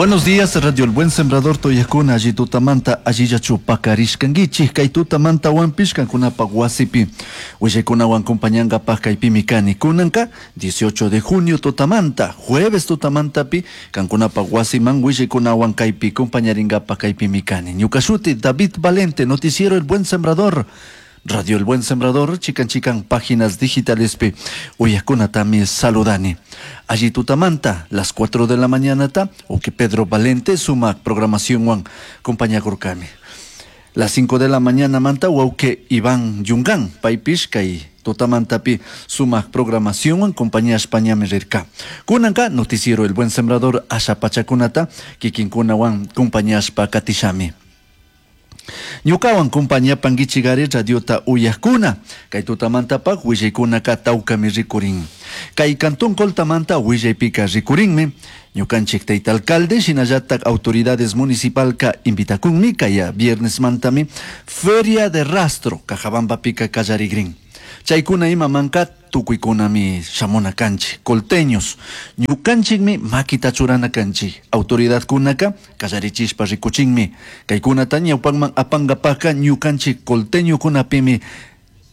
Buenos días, Radio El Buen Sembrador Toyakuna, alli tutamanta, allillachu pakarishkankichik, kay tutamanta wanpish kankunapaq wasipi willaykunawan compañangapaq kaypimi kani. Kunanka 18 de junio tutamanta, jueves tutamantapi kankunapaq wasiman willaykunawan kaypi compañaringapaq kaypimi kani. Ñuka shuti David Valente, noticiero El Buen Sembrador. Radio El Buen Sembrador, chican chican páginas digitales pi uyakunatami saludani. Allí tutamanta, las 4 de la mañana ta, o que Pedro Valente suma programación wan compañía kurkami. Las 5 de la mañana manta, que Iván Yungan, paypish kay tutamantapi suma programación wan compañía España rirka. Kunanka noticiero El Buen Sembrador asha pachakunata, kikinkuna wan compañía katishami. Ñukawan compañía panguichigari radiota uyakuna. Kay tutamantapak willaykunaka tawkami rikurin. Kay cantón Coltamanta willaypika rikurinmi. Ñukanchik tayta alcalde shinallatak autoridades municipalka invitakunmi kaya viernes mantami feria de rastro Cajabambapika kallarigrin. Chaykuna imamanka tukuykunami shamuna kanchik, colteños. Ñukanchikmi makita churana kanchik. Autoridadkunaka kallarichishpa rikuchinmi. Kaykunata ñawpanman apangapaka ñukanchik colteñokunapimi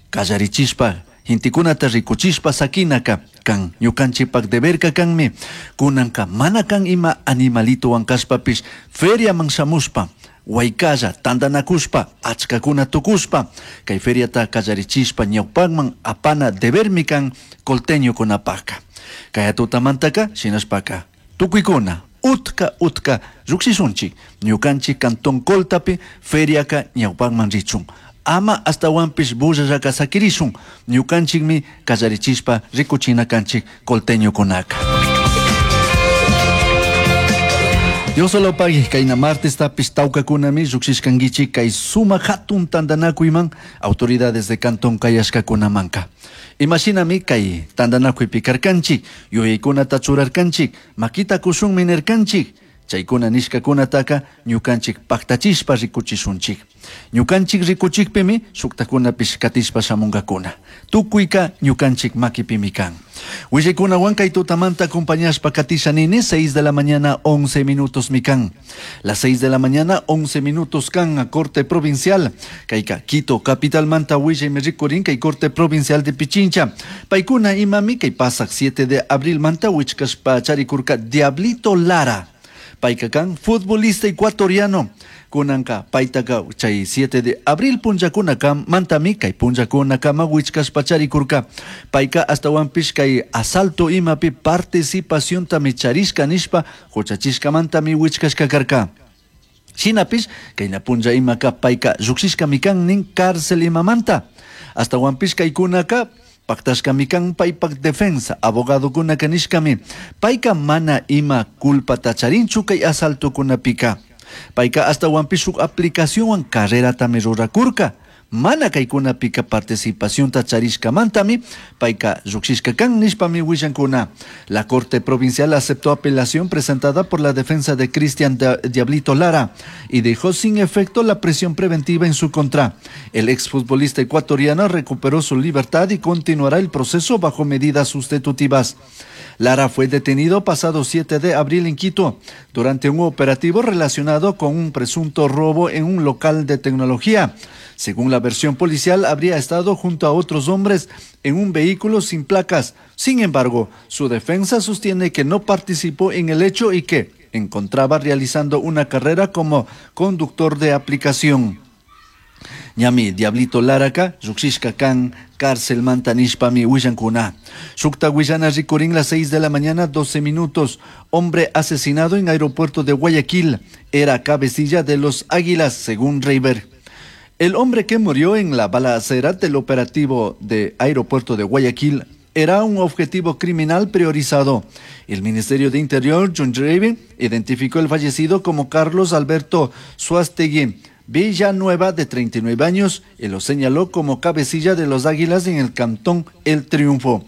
kallarichishpa hintikunata rikuchishpa sakinaka kan ñukanchikpak deberka kanmi. Kunanka mana kan ima animalitowan kashpapish feriaman shamushpa waykalla tantanakushpa achkakuna tukushpa kay feriata kallarichishpa ñawpakman apana debermi kan colteñokunapaka. Kay tutamantaka shinashpaka tukuykuna utka utka lluqshishunchik ñukanchik cantón Coltapi feriaka ñawpakman richun. Ama astawanpish bullallaka sakirishun ñukanchikmi kallarichishpa rikuchina kanchik colteñokunaka. Dios solo pague, kayna martes tapis tawkakunami lluqshishkankichik kay suma hatun tantanakuyman autoridades de cantón kayashkakunamanka. Imashinami kay tantanakuypi karkanchik, yuyaykunata churarkanchik, makita kushunmi nirkanchik, chaykuna nishkakunataka ñukanchik paktachishpa rikuchishunchik. Ñukanchik rikuchikpimi shuktakunapish katishpa shamunkakuna. Tukuyka ñukanchik makipimi kan. Willaykunawan kay tutamanta acompañashpa katisha nini 6 de la mañana 11 minutos mikan. Las 6 de la mañana 11 minutos kan a corte provincial. Kayka Quito capital manta willaymi rikurin kay corte provincial de Pichincha. Paykuna imami kay pasak 7 de abril manta wichkashpa charikurka Diablito Lara. Payka kan futbolista ecuatoriano. Kunanka paytaka chay 7 de abril punllakunaka mantami kay punllakunakama wichkashpa charikurka. Payka astawanpish kay asalto imapi participaciontami charishka nishpa huchachishkamantami wichkashka karka. Shinapish kayna punlla imaka payka lluqshishkami kan nin cárcel imamanta. Astawanpish kaykunaka paktashkami kan paypak defensa abogadokunaka nishkami. Payka mana ima culpata charinchu kay asaltokunapika. Payka astawanpish huk aplicacionwan carreratami rurakurka. Mana kaykunapika participacionta charishkamantami payka lluqshishka kan nishpami willankuna. La Corte Provincial aceptó apelación presentada por la defensa de Cristian Diablito Lara y dejó sin efecto la prisión preventiva en su contra. El exfutbolista ecuatoriano recuperó su libertad y continuará el proceso bajo medidas sustitutivas. Lara fue detenido pasado 7 de abril en Quito durante un operativo relacionado con un presunto robo en un local de tecnología. Según la versión policial, habría estado junto a otros hombres en un vehículo sin placas. Sin embargo, su defensa sostiene que no participó en el hecho y que encontraba realizando una carrera como conductor de aplicación. Ñami Diablito Laraka, lluqshishka kan cárcel manta nishpami willankuna. Shukta willana rikurin las 6 de la mañana, 12 minutos. Hombre asesinado en aeropuerto de Guayaquil. Era cabecilla de los Águilas, según Reiber. El hombre que murió en la balacera del operativo de aeropuerto de Guayaquil era un objetivo criminal priorizado. El Ministerio de Interior, John Raven, identificó el fallecido como Carlos Alberto Suástegui Villanueva, de 39 años, y lo señaló como cabecilla de los Águilas en el cantón El Triunfo.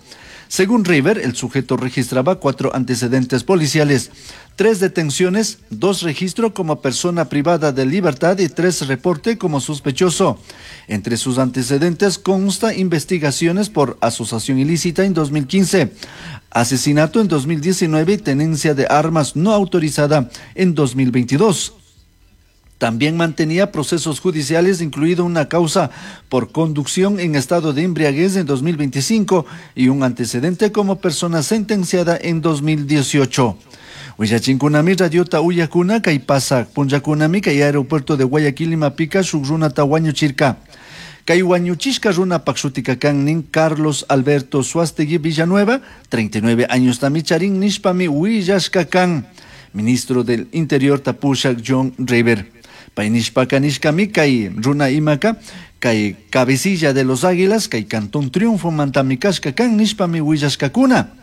Según River, el sujeto registraba 4 antecedentes policiales, 3 detenciones, 2 registros como persona privada de libertad y 3 reporte como sospechoso. Entre sus antecedentes consta investigaciones por asociación ilícita en 2015, Asesinato en 2019 y tenencia de armas no autorizada en 2022. También mantenía procesos judiciales, incluido una causa por conducción en estado de embriaguez en 2025 y un antecedente como persona sentenciada en 2018. Willachinkunami radiota uyakuna kay pasak punllakunami kay aeropuerto de Guayaquil imapika shuk runata wañuchirka. Kay wañuchishka runapak shutika kan nin Carlos Alberto Suástegui Villanueva, 39 años tami charin nishpami willashka kan. Ministro del Interior tapushak John River. Pay nishpaka nishkami kay runa imaka kay cabecilla de los Águilas kay Cantón Triunfo mantami kashka kan nishpami willashkakuna.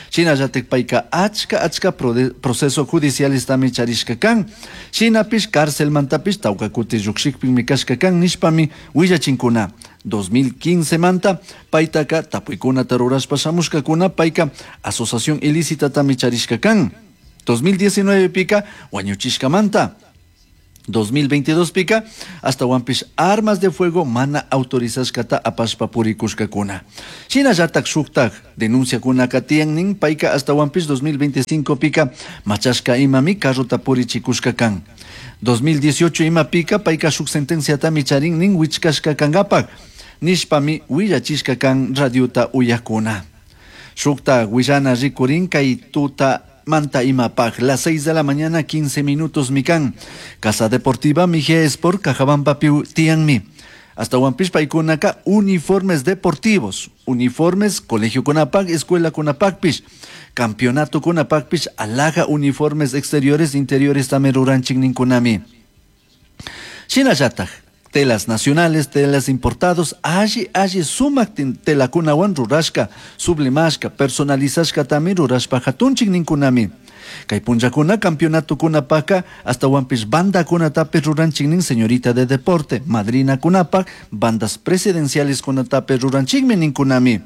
Shinallatik payka achka achka proceso judicialestami charishka kan. Shinapish cárcelmantapish tawka kuti llukshikpimi kashka kan nishpami willachinkuna. 2015 manta paytaka tapuykunata rurashpa shamushkakuna payka asociación ilícitatami charishka kan. 2019 pika wañuchishkamanta. 2022 pika ashtahuanpish armas de fuego mana autorizashkata apashpa purikushkakuna. Shinallatak shuktak denunciakunaka tiyan nin payka ashtahuanpish 2025 pika machashka imami carrota purichikushka kan. 2018 ima pika payka shuk sentenciatami charin nin wichkashka kankapak nishpami willachishka kan radiota uyakuna. Shukta willana rikurin kay tuta manta imapaj, las 6 de la mañana, 15 minutos mikan. Casa Deportiva Mejía Sport, Cajabamba piu tianmi. Ashtahuanpish paykunaka uniformes deportivos, uniformes Colegio Kunapak, Escuela Kunapakpish, Campeonato Kunapakpish, alhaja uniformes exteriores, interiores también ruranchik ninkunami. Shinallatak, telas nacionales, telas importados, alli alli sumak telakunawan rurashka, sublimashka, personalizashka también rurashpa hatunchik ninkunami. Kay punllakuna campeonato kunapaka, ashtahuanpish banda kunatapish ruranchik nin señorita de deporte, madrina kunapak, bandas presidenciales kunatapish ruranchikmi ninkunami.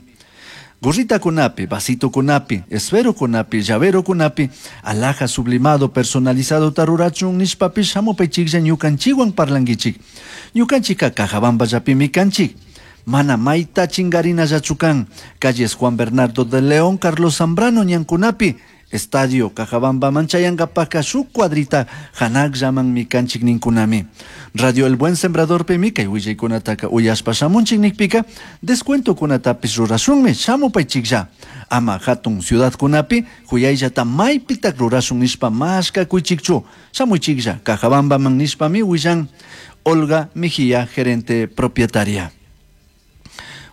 Gorrita kunapi, vasito kunapi, esfero kunapi, llavero kunapi, alhaja sublimado personalizado tarurachun nishpapish hamupaychiklla ñukanchikwan parlankichik. Ñukanchika Cajabamba llapimi kanchik. Mana mayta chingarinallachu kan. Calles Juan Bernardo de León, Carlos Zambrano ñankunapi, Estadio Cajabamba manchayankapaka shuk cuadrita hanakllaman kanchik ninkunami. Radio El Buen Sembrador pimi kay willaykunataka uyashpa shamunchik nikpika descuentokunatapish rurashunmi shamupaychiklla. Ama hatun ciudadkunapi huyayllata maypitak rurashun nishpa mashkakuychikchu. Shamuychiklla Cajabambaman nishpami willan Olga Mejía, gerente propietaria.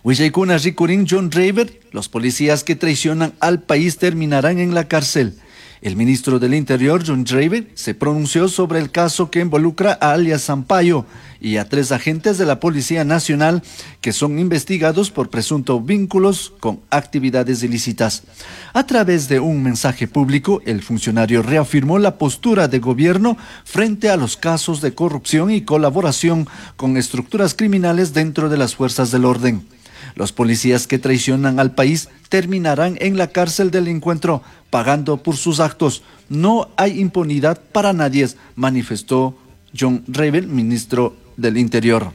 Willaykuna rikurin John Raver, los policías que traicionan al país terminarán en la cárcel. El ministro del Interior, John Draver, se pronunció sobre el caso que involucra a alias Sampaio y a 3 agentes de la Policía Nacional que son investigados por presuntos vínculos con actividades ilícitas. A través de un mensaje público, el funcionario reafirmó la postura de gobierno frente a los casos de corrupción y colaboración con estructuras criminales dentro de las fuerzas del orden. Los policías que traicionan al país terminarán en la cárcel del encuentro, pagando por sus actos. No hay impunidad para nadie, manifestó John Ravel, ministro del Interior.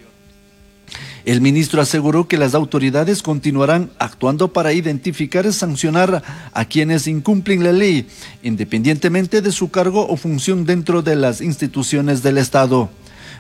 El ministro aseguró que las autoridades continuarán actuando para identificar y sancionar a quienes incumplen la ley, independientemente de su cargo o función dentro de las instituciones del Estado.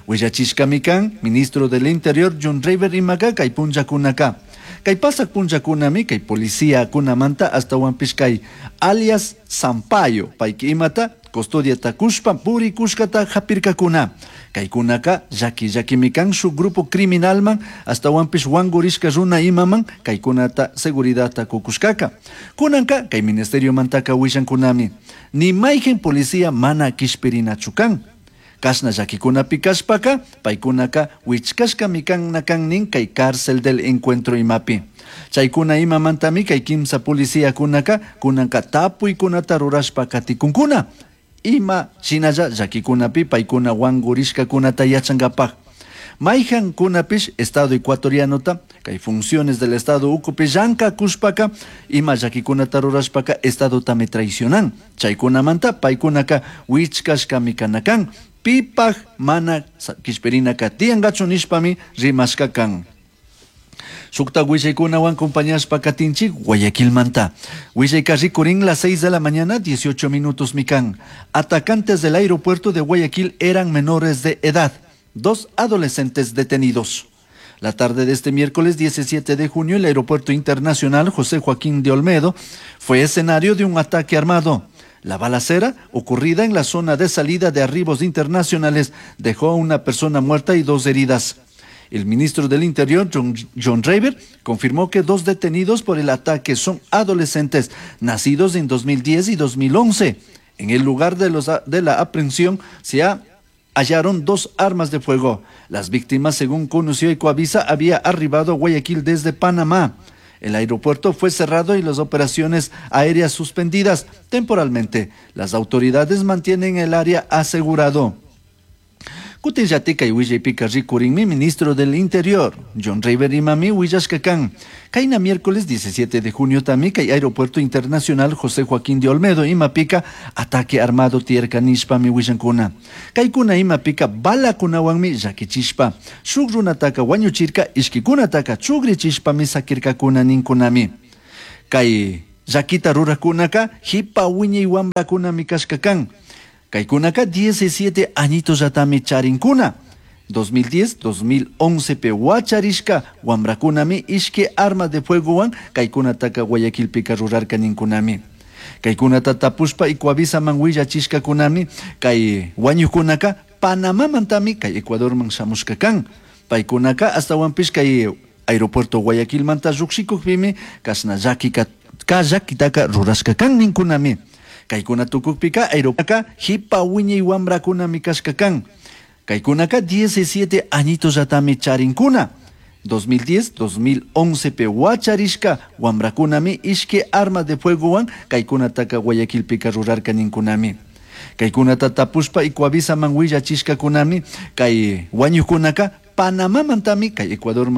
Willachishkami kan, ministro del Interior John Raver imaka kay punllakunaka. Kay pasak punllakunami kay policía kunamanta ashtahuanpish kay alias Sampaio payki imata custodiata kushpa purikushkata hapirkakuna. Kaykunaka llaki llakimi kan shuk grupo criminalman ashtahuanpish wangurishka runa imaman kaykunata seguridadta kukushkaka. Kunanka kay ministerio mantaka willankunami. Ni mayqin policía mana kishpirinachu kan. Kashna llakikunapi kashpaka, paykunaka wichkashkami kan nakan nin kay cárcel del encuentro imapi. Chaykuna imamantami kay kimsa policiakunaka kunanka tapuykunata rurashpa katikunkuna. Ima shinalla llakikunapi paykuna wangurishkakunata yachankapak. Mayhan kunapish Estado ecuatorianota, kay funciones del Estado ukupi llankakushpaka, ima llakikunata rurashpaka Estadotami traicionan. Chaykunamanta paykunaka wichkashkami kanakan. Pipaj mana kishpirinaka tiyankachu nishpami rimashka kan. Shukta willaykunawan compañashpa katinchik Guayaquilmanta. Willayka rikurin las 6 de la mañana, 18 minutos mikan. Atacantes del aeropuerto de Guayaquil eran menores de edad. 2 adolescentes detenidos. La tarde de este miércoles 17 de junio, el Aeropuerto Internacional José Joaquín de Olmedo fue escenario de un ataque armado. La balacera, ocurrida en la zona de salida de arribos internacionales, dejó a una persona muerta y 2 heridas. El ministro del Interior, John Rieber, confirmó que 2 detenidos por el ataque son adolescentes nacidos en 2010 y 2011. En el lugar de la aprehensión se hallaron 2 armas de fuego. Las víctimas, según conoció Ecuavisa, había arribado a Guayaquil desde Panamá. El aeropuerto fue cerrado y las operaciones aéreas suspendidas temporalmente. Las autoridades mantienen el área asegurado. Kutin llatika y willaypika rikurinmi ministro del Interior, John Rieber imami willashkakan. Kayna miércoles 17 de junio también kay Aeropuerto Internacional José Joaquín de Olmedo imapika ataque armado tierka nishpa mi willankuna. Kaykuna imapika balakunawanmi llakichishpa. Shuk runataka wañuchirka ishkikunataka chugrichishpa mi sakirkakuna ninkunami. Kay llakita rurakunaka hipa wiñay wamrakunami kashkakan. Kaykunaka 17 añitos yatami charinkuna. 2010, 2011 pe wacharishka wamrakunami ishke arma de fuego wan kaykunataka Guayaquilpika rurarka ninkunami. Kaykunata tapushpa Ecuavisaman willachishkakunami kay wañukunaka Panamamantami kay Ecuadorman shamushka kan. Paykunaka astawanpish kay aeropuerto Guayaquilmanta lluqshikukpimi kashna llakika kallakitaka rurashka kan ninkunami. Kaykuna tukukpika aeropuertoka hipa wiñay wamrakunami kashka kan. Kaykunaka 17 añitos yatami charinkuna. 2010, 2011 pe wacharishka wamrakunami ishke arma de fuego wan kaykunataka Guayaquilpika rurarka ninkunami. Kaykunata tapushpa Ecuavisaman willachishkakunami kay wañukunaka Panamamantami kay Ecuadorman.